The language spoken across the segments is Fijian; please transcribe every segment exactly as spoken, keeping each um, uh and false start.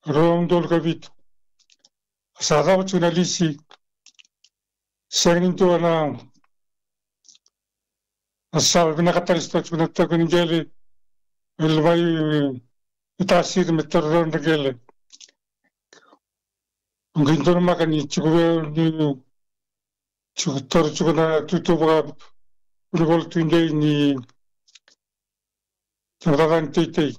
rua na udolu ka vitu. Sa cava tiko na lisi. Sega ni dua na, na sala vinaka tale sa tiko na taukei ni qele. Me luvai, e, tasiri me taura na qele. Qai donumaka ni tiko vei au ni tiko, taura tiko na tutu vaka vunivola tudei ni tabacakacaka ni teitei.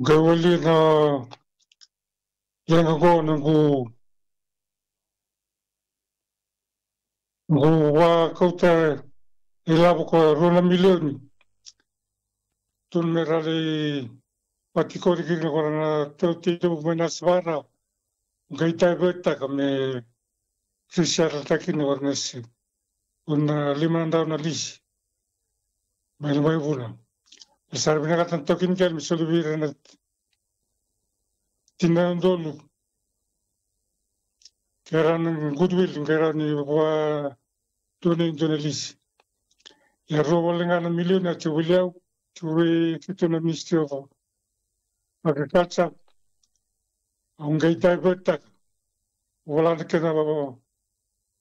Qai wali na leqa qo noqu, noqu vakauta ilavo ko rua na milioni. Tukuna me ra lai vakatikori kina ko ra na tautei levu mai na Sivara. Qai divert-taka me resettle-taka kina ko ra na si. Una lima na drau na lisi. Mai na mai vuna. E sa ra vinakata na taukei ni qele me soli vei ira na tini na udolu. Ke ra na goodwill, ke ra ni vua dua na, dua na lisi. Ia rua wale ga na milioni a tiko vei au, tiko vei keitou na Ministry of Agriculture. Au qai divert-taka. Vola na kena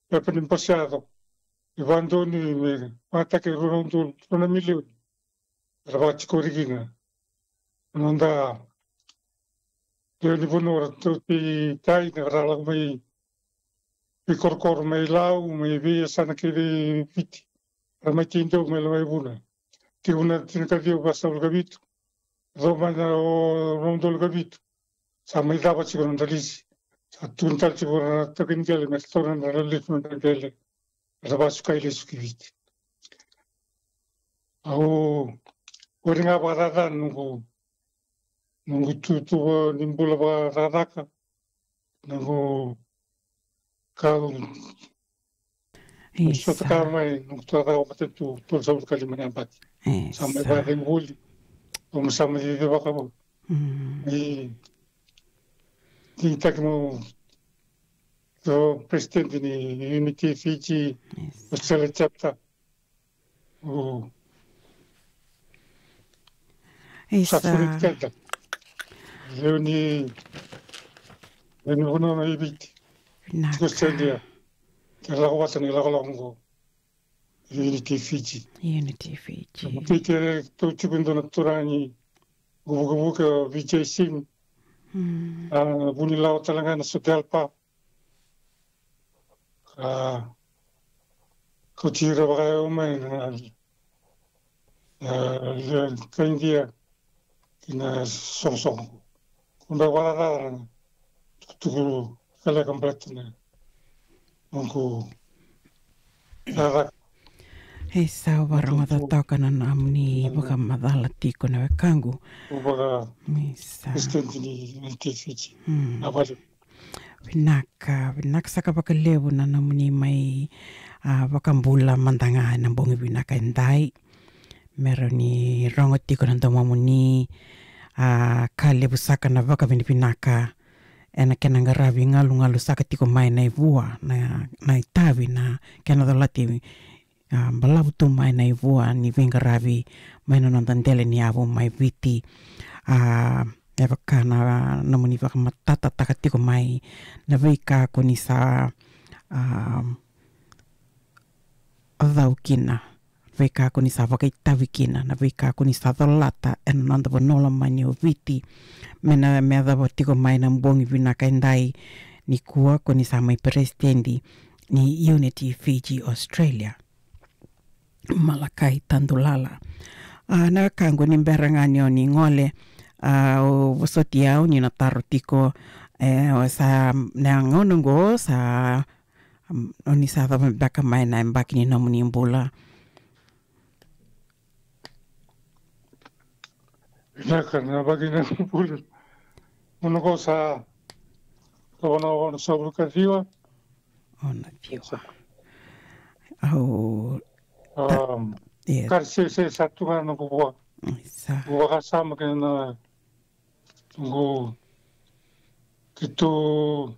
pepa ni bose yaco. E vakadonui me vakataki rua na udolu, rua na milioni. Era vakatikori kina na noda lewe ni vanua, ra tautei tai, na ra lako mai veikorokoro, mai Lau, mai veiyasana kece e Viti. Ra mai tei dau mai Lavaivuna. Tiko na tinikaciwa vasagavulu ka vitu. Rau mai na o rua na udolu ka vitu. Sa mai cava tiko na noda lisi. Sa tukuna tale tiko na taukei ni qele me ra taura na nodra lisi, na nodra qele. Era vakasukai lesu ki Viti. Au, au ori ga vakacaca noqu, noqu tutu ni bula vakacakacaka, noqu kau, noqu sota ka mai, noqu tuacaka matanitu, tolusagavulu ka lima na yabaki. Sa mai vakacegu voli, au sa mai cicivaka voli. Ni, ni taki mo So, president ni Unity Fiji Australia chapter. O. Isa. Sa furi keda. Lewe ni, lewe ni vanua mai Viti. Vinaka. Tiko Australia. Ke lako vata ni lakolako qo. Unity Fiji. Unity Fiji. Kei tou tiko e dua na turaga ni vukevuke o Vijay Singh. A, vunilawa tale ga na Sudelpa. A, kauti ira vakayawa mai na, na, na ka Idia ki na soqosoqo. Kau dau vakararawa na tukutuku lekaleka baleta na noqu cakacaka. E sa varogoca toka na nomuni vakamacala tiko na wekaqu. Au vaka president ni N T F G. Na vale. Vinaka, vinaka saka vakalevu na nomuni mai, a, vakabula mada ga ena bogi vinaka edai. Me rawa ni rogo tiko na domomuni, a, ka levu saka na vakavinavinaka ena kena qaravi galugalu saka tiko mai na ivua, na, na itavi, na kena colati, a, balavu tu mai na ivua ni veiqaravi mai na noda dela ni yavu mai Viti. A, me vaka na nomuni vakamatatataka tiko mai na veika ko ni sa, a, cau kina, veika ko ni sa vakaitavi kina, na veika ko ni sa colata ena noda vanua lomani o Viti. Me na, me yacova tiko mai na bogi vinaka edai nikua ko ni sa mai peresitedi ni Unity Fiji Australia. Malakai Tadulala. A, na wekaqu, ni bera ga ni o ni gole, a, o vosoti au ni na taro tiko, e, o sa, na gauna oqo sa, mm, o ni sa cava beka mai na yabaki ni nomuni bula? Vinaka, na yabaki ni bula. Gauna oqo sa, sa onosagavulu ka ciwa. Onosagavulu ka ciwa. Au, ta-, um, yes. Ka sesese sa tu ga na noqu vua. Sa. Noqu vakasama kei na noqu, keitou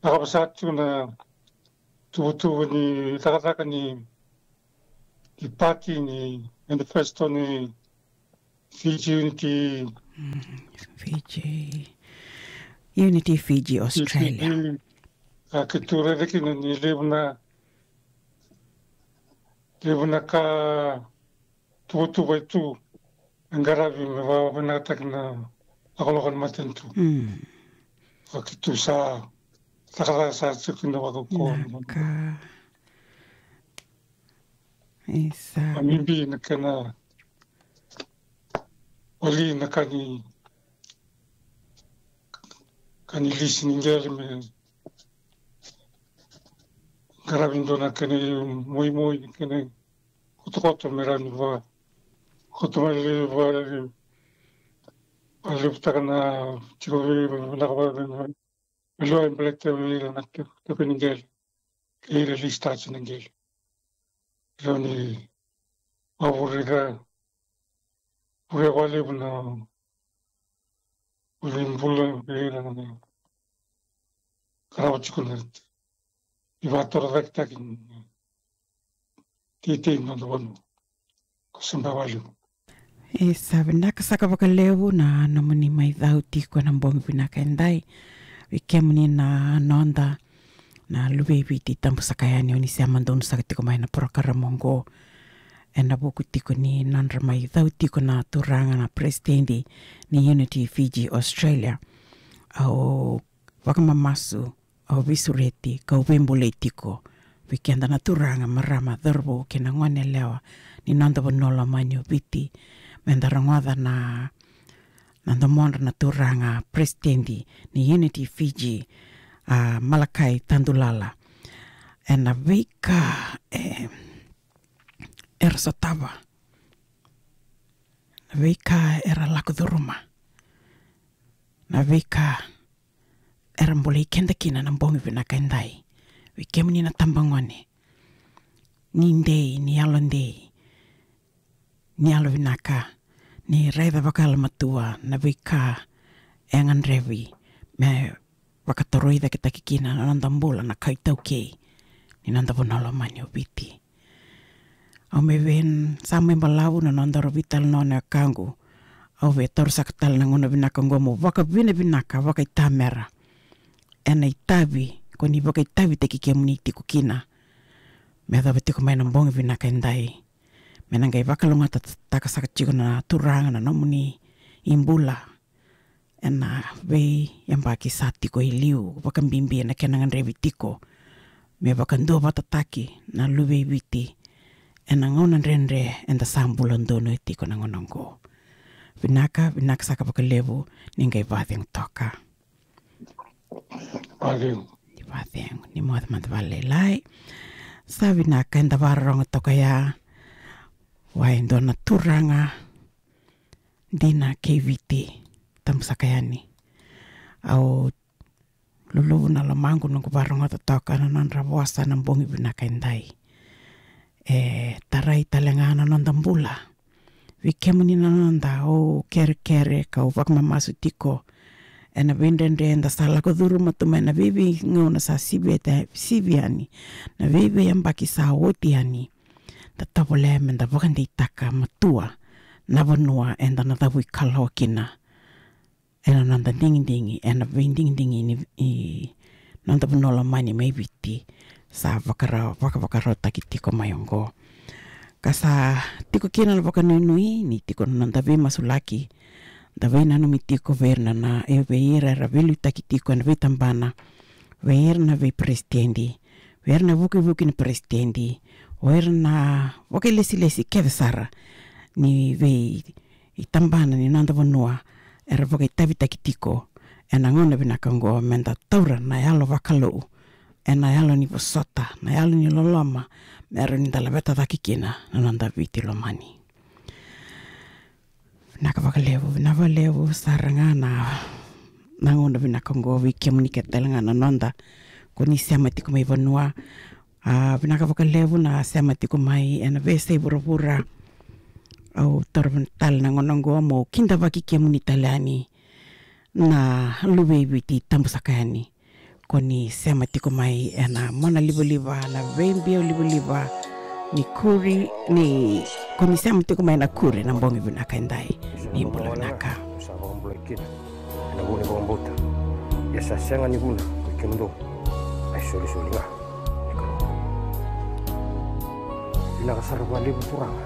cakava saka tiko na tuvatuva ni cakacaka ni, ni pati, ni manifesto ni Fiji Unity. Mm, Fiji Unity, Fiji Australia. Fiji, a, keitou raica kina ni levu na, levu na ka tuvatuva e tu e qaravi me vakavinakataki na lakolako ni matanitu. Mm. A, keitou sa cakacaka sa tiko kina vakaukaua. Naka. Isa. A, bibi na kena wali na ka ni, ka ni lisi ni qele me qaravi dua na kena imoimoi, na kena kotokoto me rawa ni va, koto mai le va, va levutaka na tiko vei, vinaka va, vei, vei, vei, baleta vei ira na tiko, tiko ni qele. Kei ira lisi tasi na qele. Rawa ni vavurika, vurika vakalevu na vuli bula vei ira na qarava tiko na ivakatorocaketaki ni teitei ni noda vanua. Ko Samba Waliu. E sa vinaka saka vakalevu na nomuni mai cau tiko ena bogi vinaka edai. Vei kemuni na noda na luve i Viti tabu saka yani, oni sema donu saka tiko mai na porokaramu oqo. Ena vuku tiko ni nodra mai cau tiko na turaga na peresitedi ni Unity Fiji Australia. Au vakamamasu, au veisureti, kau veibulai tiko vei keda na turaga, marama, cauravou kei na gone yalewa ni noda vanua lomani o Viti. Meda rogoca na, na domodra na turaga peresitedi ni Unity Fiji, a, Malakai Tadulala. Ena veika, e, era sotava, na veika era lako curuma, na veika era bolei keda kina na bogi vinaka edai. Vei kemuni na tabagone, ni dei, ni yalodei, ni yalovinaka ni raica vakayalomatua na veika e gadrevi me vakatorocaketaki kina na noda bula, na kai taukei ni noda vanua lomani o Viti. Au mai vei, sa mai balavu na noda ro veitalanoa na wekaqu. Au via taura saka tale na gauna vinaka oqo meu vakavinavinaka vakaitamera ena itavi ko ni vakaitavitaki kemuni tiko kina me yacova tiko mai na bogi vinaka edai. Me na qai vakalougatataka saka tiko na turaga na nomuni ibula ena veiyabaki sa tiko e liu, vakabibi ena kena gadrevi tiko me vakaduavatataki na luve i Viti ena gauna dredre eda sa bula donuya tiko na gauna oqo. Vinaka, vinaka saka vakalevu, ni qai vacegu toka. Vacegu. Ni vacegu, ni moce mada vakalailai. Sa vinaka, eda vakarorogo toka ya vua e dua na turaga dina kei Viti tabu saka yani. Au luluvu na lomaqu noqu vakarogoca toka na nodra vosa na bogi vinaka edai. E tarai tale ga na noda bula. Vei kemuni na noda, au kerekere kau vakamamasu tiko ena veidredre eda sa lako curuma tu mai na veiveigauna sa sivi, sivi yani, na veiveiyabaki sa oti yani. Da tovolea meda vakadeitaka matua na vanua eda na cavuikalawa kina ena noda digidigi, ena veidigidigi ni, i noda vanua lomani mai Viti sa vakara, vakavakarautaki tiko mai oqo. Ka sa tiko kina na vakanuinui ni tiko na noda veimasulaki, da veinanumi tiko vei ira na, e, vei ira era veiliutaki tiko ena veitabana, vei ira na veiperesitedi, vei ira na vukevuke ni peresitedi, o ira na vakailesilesi kece sara ni veitabana ni noda vanua era vakaitavitaki tiko ena gauna vinaka oqo, meda taura na yalo vakalou ena yalo ni vosota, na yalo ni loloma, me rawa ni da laveta cake kina na noda Viti lomani. Vinaka vakalevu, vinaka vakalevu sara ga na, na gauna vinaka oqo vei kemuni kece tale ga na noda ko ni sema tiko mai vanua. A, vinaka vakalevu na sema tiko mai ena veiyasai vuravura. Au taura tale na gauna oqo meu kidavaki kemuni tale yani na luve i Viti tabu saka yani. Ko ni sema tiko mai ena mona livaliva, na veibiau livaliva ni kuri, ni ko ni sema tiko mai na kuri na bogi vinaka edai. ni bula vinaka. Sa vakabulai kina ena vuku ni vakabauta. Ia sa sega ni vuna ko i kemudou, a isolisoli ga ni Kalou. Vinaka sara vakalevu Turaga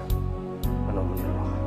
na nomuni loloma.